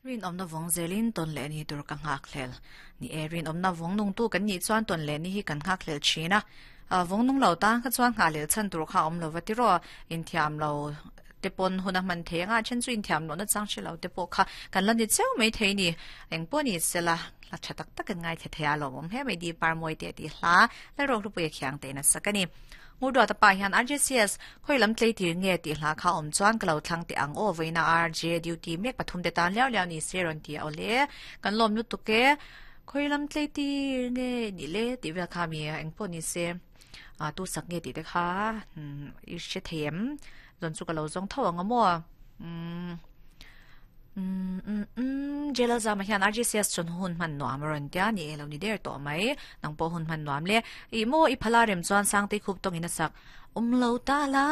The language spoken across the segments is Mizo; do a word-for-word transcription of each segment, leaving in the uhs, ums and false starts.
Rin om na vong zelin ton le ni tur ka ngak hlel ni e rin om na vong nung tu kan ni chuan ton le ni hi kan ngak hlel thina a vong nung lo ta kha chuan nga lel chan tur kha om lo wa ti ro in thiam lo te pon huna man the nga chen chu in thiam lo na chang shi lo te po kha kan lan ni cheu mai thei ni eng po ni sela la thatak tak ngai the the a lo mom he mai di par moi te ti hla la ro ru pu khiang te na sakani ngu do ta pa hian R J C S khoi lam tlei tir nge ti hla kha om chuan kalo thlang te ang o veina R J duty mek pathum te tan liao liao ni se ron ti ole kan lom lu tu ke khoi lam tlei tir nge ni le ti vel kha mi eng po ni se a tu sak nge ti te kha i she them zon chu kalo zong tho ang mo um um um um jela zama hian R J C S chon hun man nuam ron tia ni elo ni der to mai nang po hun man nuam le i mo i phala rem chuan sang te khup tong ina sak um lo ta la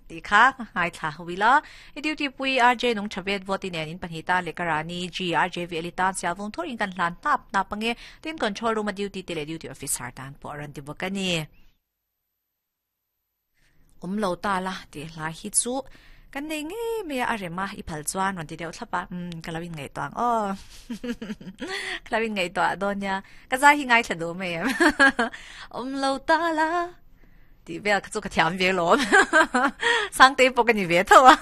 ti kha hai tha huila i duty pui R J nong chavet voti nen in panhita le karani G R J V elita sialvung thor in kan hlan tap na pange tin control room duty tele duty officer tan po ran ti bokani um lo ta la ti la hi chu kan nei nge me a rema i phal chuan ron ti deuh thlapa um kalawin ngai toang o kalawin ngai to donya ka za hi ngai thadu me um lo ta la ti vel ka chu ka thiam ve lo sang te po ka ni ve thawa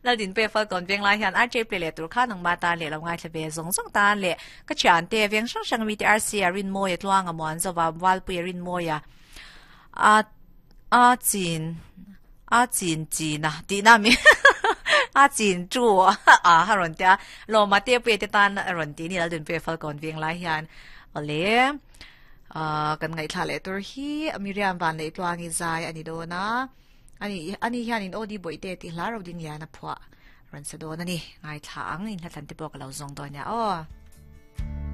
la din pe fa kon veng lai hian R J play le tur kha nang ma ta le lo ngai thlabe zong zong ta le ka chan te veng sang sang mi te R C arin mo ye tluang amon zawa wal pu arin mo ya a a chin a chin chi na ti na mi a chin chu a ha ron tia lo ma te pe te tan ron ti ni la dun pe fal kon veng lai hian ole a kan ngai thla le tur hi Miriam van le tluang i zai ani do na ani ani hian in odi boi te ti hla ro ding ya na phwa ron sa do na ni ngai thla ang in hla thlan te pok lo zong do nya o.